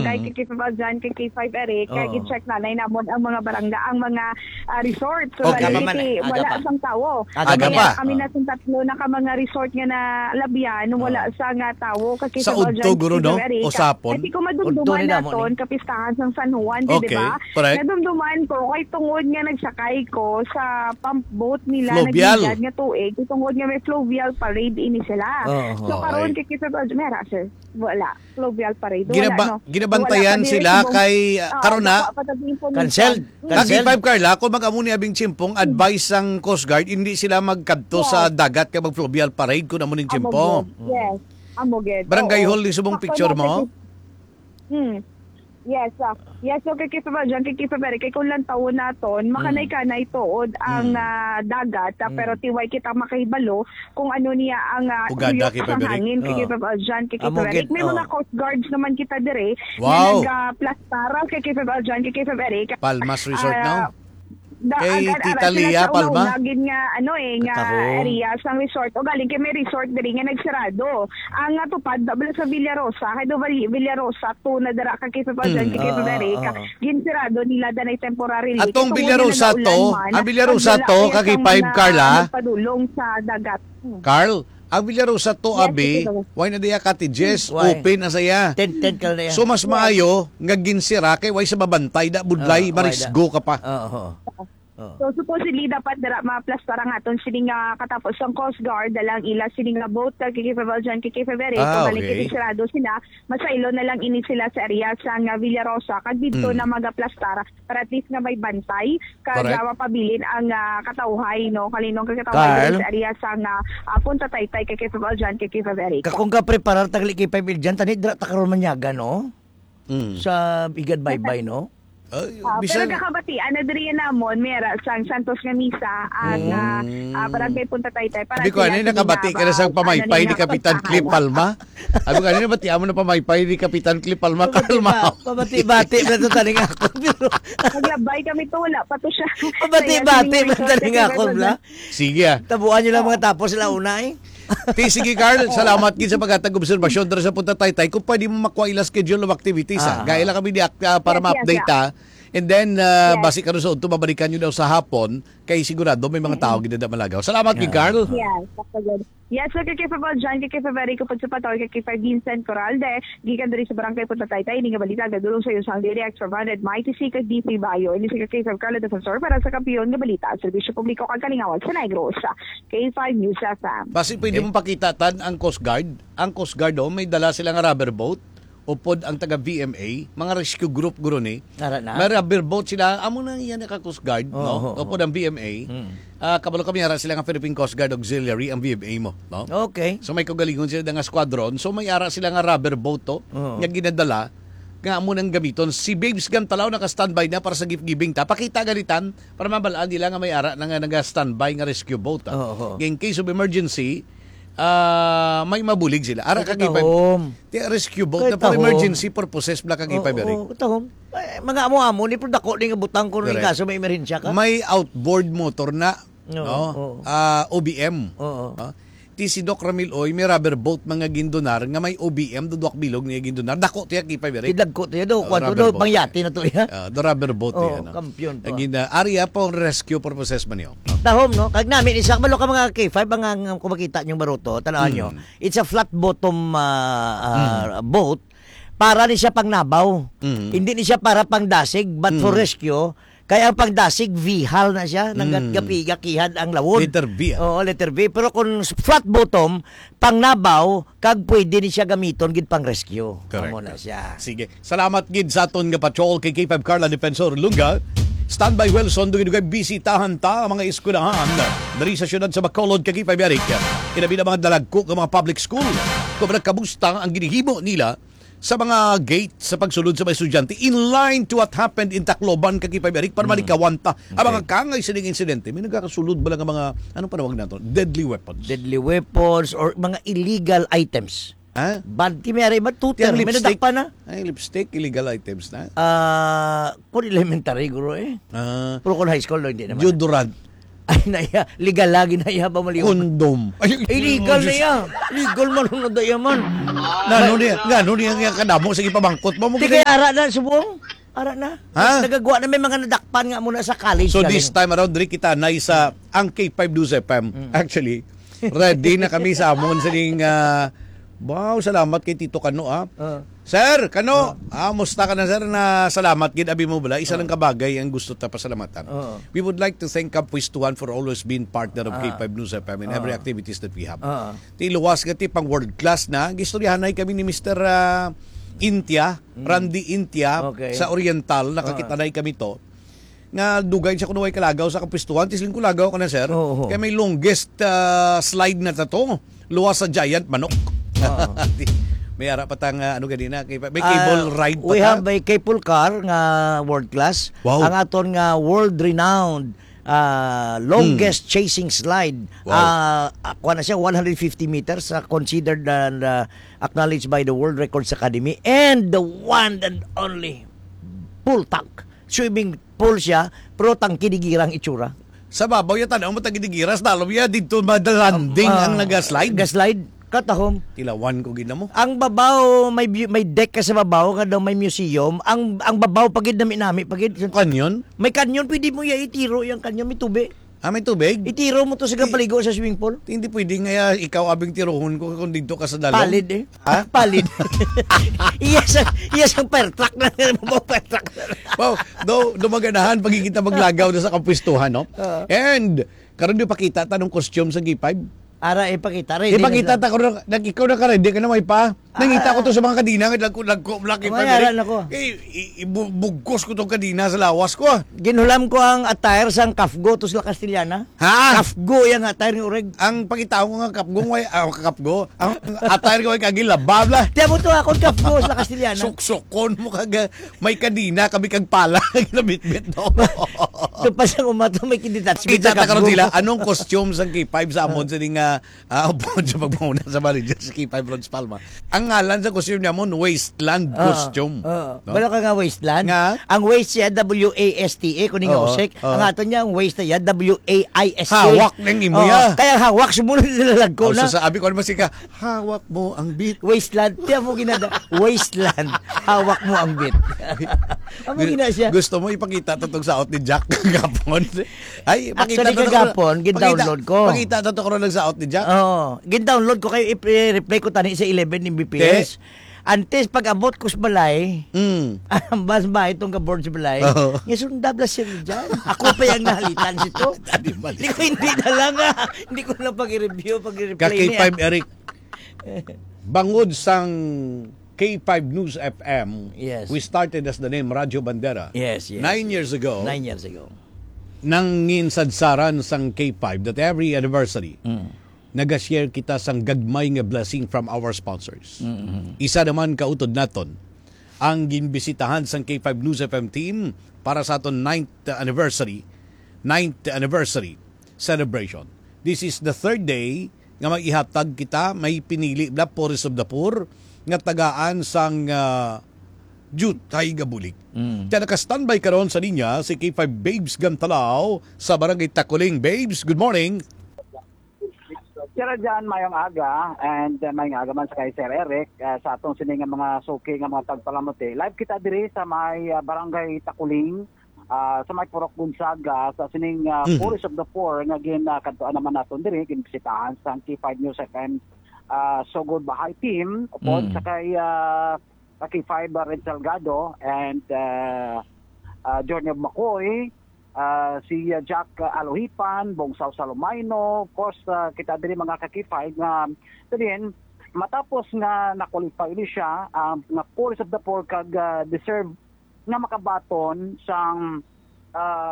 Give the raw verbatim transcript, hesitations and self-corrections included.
Kay Mm. kay K five Aljan, kay K five Eric, kay Oo. gi-check na nay namon ang mga barangay, ang mga, ah, resort. So, Aga pa man, eh. Aga wala pa. sang tawo. Aga Kami pa. na, kami na sang tatlo na ka mga resort nga nalabyan, wala Oo. sa nga tawo. Kay Sa K five Aljan, udto, kay guro, K five no? Eric. O sapon? Kasi kung Udto madumduman ni namon, naton, eh. kapistahan sang San Juan, di Okay, ba? correct. Nadumduman ko, kay tungod nga nagsakay ko sa pump boat nila, Fluvial. naghigad nga tuig, kay tungod nga may fluvial parade ini sila. Oo, So, karon, okay. kay K five Aljan, may ara, sir. Wala. Fluvial parade. Wala, Ginaba-, no? ginabantayan Wala pa diri sila subong, kay, ah, ah, karon na. wala pa diri information. Cancelled. Mm. Kag Cancelled. Five, Carla, kung mag-amo ni abing chimpong, Mm. advice sang Coast Guard, hindi sila magkadto sa Yes. dagat kay mag-fluvial parade kung amo ning Amo chimpo. gid. Mm. Yes. Amo gid. Barangay Oo. Hall ni subong Sakto picture na mo? sa gid-, mm. Yes, ah. Yes, so kay Kifa Valjean, kay Kifa Berry, kay kung lantawon naton, Mm. makanay-kanay tuod ang, Mm. ah, dagat, ah, Mm. pero tiway kita makahibalo kung ano niya ang, ah, Ugada, uyok Kifa sang Berry. hangin, kay Oo. Kifa Valjean, kay Amo Kifa Berry. gid, May oo. mga coast guards naman kita dire, Wow. nga nagaplastar kay Kifa Valjean, kay Kifa Berry. Palmas Resort Ah, now? da-, Kay ag-, ag-, Tita ara sila Lia sa Palma? una-una gid nga, ano eh, nga Katahom. area sang resort. O galing kay may resort diri nga nagsarado. Ang, ah, tupad, da-, bala sa Villarosa, kay do Val-, Villarosa two na dira ka Kifa Valjean, Mm. kay Kifa Oo, Berry, oo, ka, oo. ginsarado nila danay temporarily. Atong Kay tungod Villarosa nga naulan two, man, ang Villarosa pagdala two, kaya kag sang five, mga Carla? nagpadulong sa dagat. Hmm. Carl, ang Villarosa two, Yes, abi, Tito. why na diya cottages? Hmm. Why? Open na saya. Tent, tent ka na yan. So, mas Yes. maayo nga ginsira kay why sa babantay da budlay, Ah, why da? marisgo ka pa. Oo, oo. Oo. So, supposedly, dapat dira maplastar ang aton sini nga katapos sang Coast Guard, dalang ila sini nga boat, kag kay February, kay February, Ah, kung balik okay. Sirado sila, masaylo na lang ini sila sa area sa nga Villarosa, kag dito Mm. na magaplastar para at least nga may bantay, kag Correct. ah, mapabilin ang, ah, katawhay, no? Kalinong kag katawhay Carl? dito sa area sa nga, ah, Punta Taytay, kay February, kay February. Kakong ka preparar tagli kay February, tani dira ta karon manyaga, no? Mm. Sa Igad Baybay, no? Ay, Ah, bisan pero kakabatian na diri namon, may ara sang Santos nga Misa, ang, ah, Mm. ah, Barangay Punta Taytay, para Sabi ko, sila ano, sila nakabati ka na ba-, sa pamaypay ano ni nila, Kapitan Cliff pagkahala. Palma? Sabi ko, ano, nabatian mo na pamaypay ni Kapitan Cliff Palma? Pabati Kalma. ba? Pabati-bati na to taning ako, pero Naglabay kami to, wala pa to siya. Pabati-bati Kaya na siya taning ako, wala. Sige, ah. Tabuan nyo lang mga tapos sila una, eh. Ti, sige, Carl, salamat gid sa paghatag obserbasyon diri sa Punta Taytay. Kung pwede mo makuha ila schedule of activities, ah. Ah. Gaya lang kami di ak-, ah, para Yes, yes, ma-update, yeah. ah. And then, ah, Yes. basi karon sa udto, babalikan nyo daw sa hapon. Kay sigurado may mga Mm-mm. tao gid na malagaw. Salamat gid, Ah. Carl. Yes, that's a good. Yes, so kay Kifa Valjean, kay Kifa Federico Pagsapator, kay Kifa Vincent Coralde, gikan diri sa Barangay Punta Taytay, ini nga balita nagdulong sa iyo sang Direct from Red Mighty C kag D P Bayo. Ini si kay Kifa Carla Defensor para sa Kampiyon nga Balita, Serbisyo Publiko kag Kalingawan sa Negros. K five News F M. Basi pwede Okay. mong pakita tan ang Coast Guard. Ang Coast Guard, oh, may dala sila nga rubber boat. Upod ang taga V M A, mga rescue group guro ni. Ara na. May rubber boat sila. Amo na iya naka Coast Guard, Oo, no? oo. Upod ang V M A. Mm. Ah, kabalo kami, ara sila nga Philippine Coast Guard Auxiliary ang V M A mo, no? Okay. So may kaugalingon sila nga squadron. So may ara sila nga rubber boat to, Oo. nga ginadala, nga amo nang gamiton. Si Babes Gantalaw naka-standby na para sa gift giving ta. Pakita ganitan para mabalaan nila nga may ara na nga naga-standby nga rescue boat, ah. Oo, oo. In case of emergency, ah, may mabulig sila. Ara Kay ka, K five. katahom. Ti, rescue boat Kay na for tahom. emergency purposes bala ka, K five, Oo, Eric. oo, katahom. Eh, mga amo-amo ni, pero dako ni nga butang kung Correct. kaso may emerhensya ka. May outboard motor na, Oo, no? oo. Ah, O B M. Oo. Ah, ti si Doc Ramil Oy, may rubber boat mga gindonar nga may O B M, duduak bilog niya gindonar. Dako tiya, K five, Eric. Idagko tiya do, Oh, kwan to rubber do, boat. Pangyati na to, ya. Ah, the rubber boat, Oh, yan, no? kampiyon to, Ang ah. gina-, area po ang rescue purposes man yun. Tahom, no? Kag nami, isa, malo ka mga K five, ang, ang, kung makita niyong baruto, tanawan Mm. niyo. It's a flat bottom, ah, ah, Mm. boat. Para ni siya pang nabaw. Mm. Hindi ni siya para pang dasig, but for Mm. rescue, kaya ang pang dasig, V HAL na siya. Nang Mm. gapiga, kihad ang lawod. Letter V, ah. Oo, letter V. Pero kung flat bottom, pang nabaw, kag pwede ni siya gamiton gid pang rescue. Correct. Amo na siya. Sige. Salamat gid sa aton nga patrol kay K five Carla Defensor Lunga. Standby Wilson, dugay-dugay bisitahan ta ang mga eskwelahan diri sa siyudad sa Bacolod kay K five Eric. Ilabi na mga dalagko nga mga public school. Kung nagkamusta ang ginhimo nila sa mga gate sa pagsulod sa mga estudyante, in line to what happened in Tacloban kay K five Eric, para Mm. malikawan ta ang mga Okay. kangay sining insidente. May nagakasulod ba lang ang mga, anong panawag nato? Deadly weapons. Deadly weapons or mga illegal items. Ha? Bad, ti may ari, bad tutor, Yang may lipstick? nadakpan na. Ay, lipstick, illegal items na. Ah, kung elementary, guro, eh. Ah. Pero kung high school, no, hindi naman. Deodorant. Ay, naya, legal lagi na iya ba maliw? Kondom. Ay, Illegal na Diyos. iya. Legal man na daya man. Ngano niya, ngano niya nga kadamo? Sige, pamangkot mo. Di kay ara na subong? Ara na. Ha? Nagagwa na may mga nadakpan nga muna sa college So, galing. this time around, diri kita na sa ang K five News F M. Mm. Actually, ready na kami sa amon sining, ah, wow, salamat kay Tito Kano, ah. Ah. Sir, Kano, Oh. ah, musta ka na, sir? Na salamat gid, abi mo bala. Isa Oh. lang kabagay ang gusto ta pasalamatan. Oh. We would like to thank Kapuestuhan for always being partner of Ah. K five News F M in every Ah. activities that we have. Ah. Ti luwas nga ti pang world class na, gistoryahanay kami ni Mister, ah, Intia, Mm. Randy Intia, Okay. sa Oriental, Ah. nakakitanay kami to. Nga dugay siya kuno way kalagaw sa kapuestuhan, tisling ko lagaw ka na, sir. Oo. Kay may longest, ah, slide na ta to. Luwas sa giant manok. Oo. Di, may ara pa tang, ah, ano ganina, kay may Ah, cable ride pa we ta. have a cable car nga world class. Wow. Ang aton nga world renowned, ah, longest Hmm. chasing slide. Wow. Ah, ah, kuha na siya, one hundred fifty meters, ah, considered and, ah, acknowledged by the World Records Academy and the one and only full tank swimming pool siya, pero tangkidigira ang itsura. Sa babaw ya, tanaw mo, tangkidigira, sa dalom ya, dito madalanding Ah, ang nagaslide. Gaslide, katahom. Tilawan ko gid na mo. Ang babaw, may bu-, may deck ka sa babaw, nga daw may museum. Ang, ang babaw, pagid na minami, pagid. Canyon? May canyon, pwede mo ya itiro, yung canyon, may tubi. Ah, may tubig? Itiro mo to sa I- kapaligo sa swimming pool. Hindi pwede nga, ah, ikaw abing tirohon ko kung dito ka sa dalom. Palid eh. Ha? Palid. Iya sa, iya sa fire truck na, mo fire truck na. Wow, do, do maganahan pagkikita maglagaw na sa kapuestuhan, no? Oo. And, karon di pakita ta nung costume sa K five. Ara, ipakita rin. Ipakita ta karon, nag-, ikaw na ka ready ka na may pa. Nangita ko to sa mga kadina, nga lagko, lagko, laki May pa, ara diri. na ko. Eh, i-, i-, bu-, bugkos ko tong kadina sa lawas ko, ah. Ginhulam ko ang attire sang kafgo to sa Castellana. Ha? Kafgo yang attire ni Ureg. Ang pagkitaon ko nga kapgo, way, ah, kapgo. Ang attire ko ay kagilabab la. Tiyan mo to, akong kapgo sa Castellana. Suksukon mo kaga, may kadina, kami kag pala, ginabitbit, no? Ito pa siyang umato, may kinitouch Kita sa ta karon kapgo sila, mo. Anong costume sang K five sa amon, sa nga, ah, upo sa pagmuna sa manager sa K five Ron's Palma? Ang ngalan sa costume niya mo, Wasteland Oo, costume. oo. No? Balo ka nga Wasteland? Nga? Ang waste siya, W A S T A, kuning Oo, usik. oo. Ang ato niya, ang waste niya, W A I S K. Hawak ng imo Oo, ya. Kaya hawak, sumunod nilalagko Oh, na. So sabi ko, ano ba si ka? Hawak mo ang beat. Wasteland. Tiyan mo ginada. Wasteland. Hawak mo ang beat. Amo Gu-, gina siya. Gusto mo ipakita to tong saot ni Jack kagapon? Ay, pakita Actually, to, to, kagapon, pakita, gin-download ko. Pakita to, to, karon nagsaot ni Jack. Oo. Gin-download ko kayo, i-, i-replay ko tani sa eleven M B P S. Te? Antes, pag-abot ko sa balay, Mm. mas ba itong ka-board sa balay? Oo. Nga sundab lang siya dyan. Ako pa yung nahalitan sito. Tadi mali. Hindi ko, hindi na lang, ah. Hindi ko lang pag-review, pag-replay Ka niya. K five Eric, bangod sang K five News F M, Yes. we started as the name Radyo Bandera. Yes, yes. Nine years ago, Nine years ago. nangin sadsaran sang K five that every anniversary, Mm. nagashare kita sang gagmay nga blessing from our sponsors. Mm-hmm. Isa naman kautod naton ang ginbisitahan sang K five News F M team para sa aton ninth anniversary, ninth anniversary celebration. This is the third day nga mag-ihatag kita, may pinili bla, Pores of the Poor, nga tagaan sang, ah, jutay nga bulig. Mm. Kaya naka-standby karon sa linya si K five Babes Gantalaw sa Barangay Takuling. Babes, good morning. Sir Jan, mayong aga, and, uh, mayong aga man sa kay Sir Eric, uh, sa atong sini nga mga suki nga mga tagpalamuti. Live kita diri sa may, uh, Barangay Takuling, uh, sa may Purok Gonzaga, sa sining, uh, Mhm. Forest of the Poor nga gin, uh, kadtuan naman naton diri, ginbisitahan sa K five News F M, uh, Sugod Bahay Team, upod Mm. sa kay, uh, sa K five, uh, Red Salgado and, uh, uh, Journey of Macoy, ah, si, ah, Jack, ah, Alohipan, Bongsaw Salomaino, of course, ah, kita diri mga ka-K five nga, so din, matapos nga na-qualify ni siya, ah, nga Pores of the Poor kag, ah, deserve nga makabaton sang, ah,